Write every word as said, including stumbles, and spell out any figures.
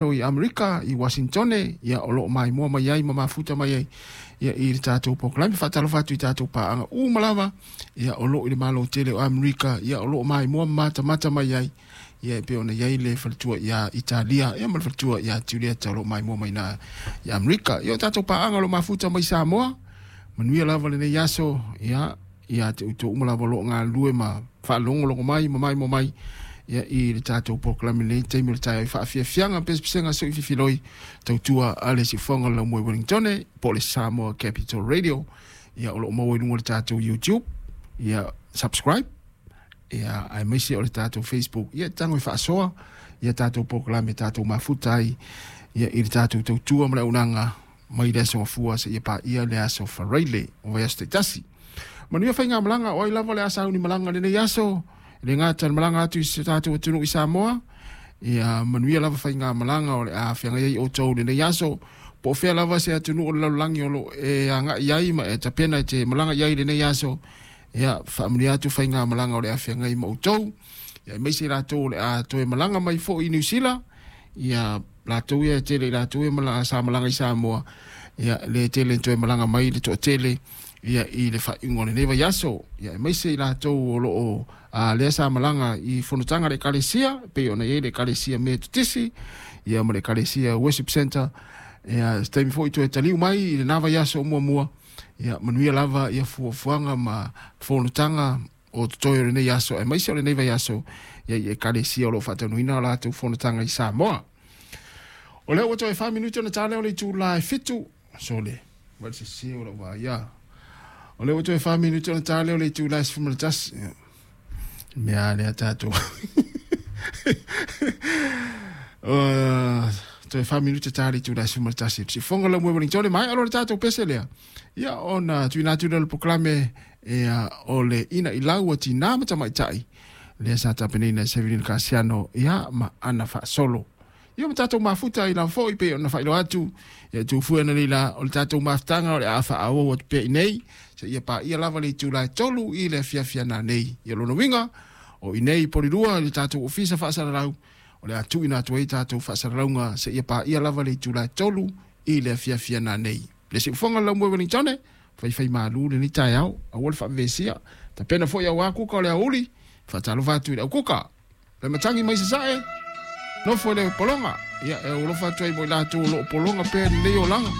I Amerika i Washington, ia o loo maimoa mai ai ma mafuta mai ai ia i le tatou polokalame. Faatalofa atu i tatou paaga uma lava ia o loo i le Malo tele o Amerika, ia o loo maimoa ma matamata mai ai, ia e pei ona i ai le faletua ia Italia ia ma le faletua ia Julieta o loo maimoa mai na i Amerika. Ia o tatou paaga o loo mafuta mai Samoa, manuia lava lenei aso ia ia te outou uma lava o loo galulue ma faalogologo mai ma maimoa mai ia i le tatou polokalame lenei taimi o le taeao i faafiafiaga pesepesega sui fifiloi tautua a le siufofoga o le laumua i Wellington po o le Samoa Capital Radio. Ia o loo maua i luga o le tatou YouTube, ia subscribe, ia aemaise o le tatou Facebook, ia tago e faasoa ia tatou polokalame tatou mafuta ai ia i le tatou tautua ma le auaunaga mai le aso Gafua seia paia le aso Faraile o vaiaso taitasi. Manuia faigamalaga o ai lava le a sauni malaga lenei aso, e le gata le malaga atu i se tatou atunuu i Samoa. Ia manuia lava faigamalaga o le a feagai ai outou lenei aso, po o fea lava se atunuu o le lalolagi o loo e agai ai ma e tapena e te malaga i ai lenei aso. Ia faamanuia atu faigamalaga o le a feagai ma outou, ia aemaise i latou o le a toe malaga mai foi i Niu Sila. Ia latou ia e tele i latou ia malaga sa malaga i Samoa, ia le tele toe malaga mai le toatele ia i le faaiuga o lenei vaiaso. Ia aemaise i latou o loo a lea sa malaga i fonotaga le ekalesia, pei ona i ai le ekalesia Metotisi ia ma le ekalesia Worship Center, ia se taimi foi toe taliu mai i lena vaiaso o muamua. Ia manuia lava ia fuafuaga ma fonotaga o totoe o lenei aso aemaise o lenei vaiaso ia i ekalesia o loo faataunuina o latou fonotaga i Samoa. O lea ua toe fa minute ona ta lea o le itula e fitu. Sole ma se se o lau vaia. O lea ua toe fa minute ona ta lea o le itula e sefulu ma le tasi. Mea lea tatou. Toe fa minute ta le itula e sefulu ma le tasi. Siufofoga la mue Wellington mai alo le tatou pese lea. Ia ona tuuina atu lea o le polokalame ia o le ina i lau o tinā ma tamaitai lea sa tapenaina e Sevelino Kasiano ia ma ana faasolo. Ia ma tatou mafuta i lava foi pei ona faailoa atu ia tufue ana nei la o le tatou mafutaga o le a faaauau atu pea i nei seia paia lava le itula e tolu i le afiafi ana nei. Ia lona uiga o i nei Polilua i le tatou ofisa faasalalau o le a tuuina atu ai tatou faasalalauga seia paia lava le itula e tolu i le afiafi ana nei. Le siufofoga le laumua i Wellington, faifai malu lenei taeao, aua le faavevesia. Tapena foi auā kuka o le aoauli, faatalofa atu i le aukuka. Le matagi mai sasae, nofo i le pologa. Ia e alofa atu ai mo i latou o loo pologa pea lenei olaga.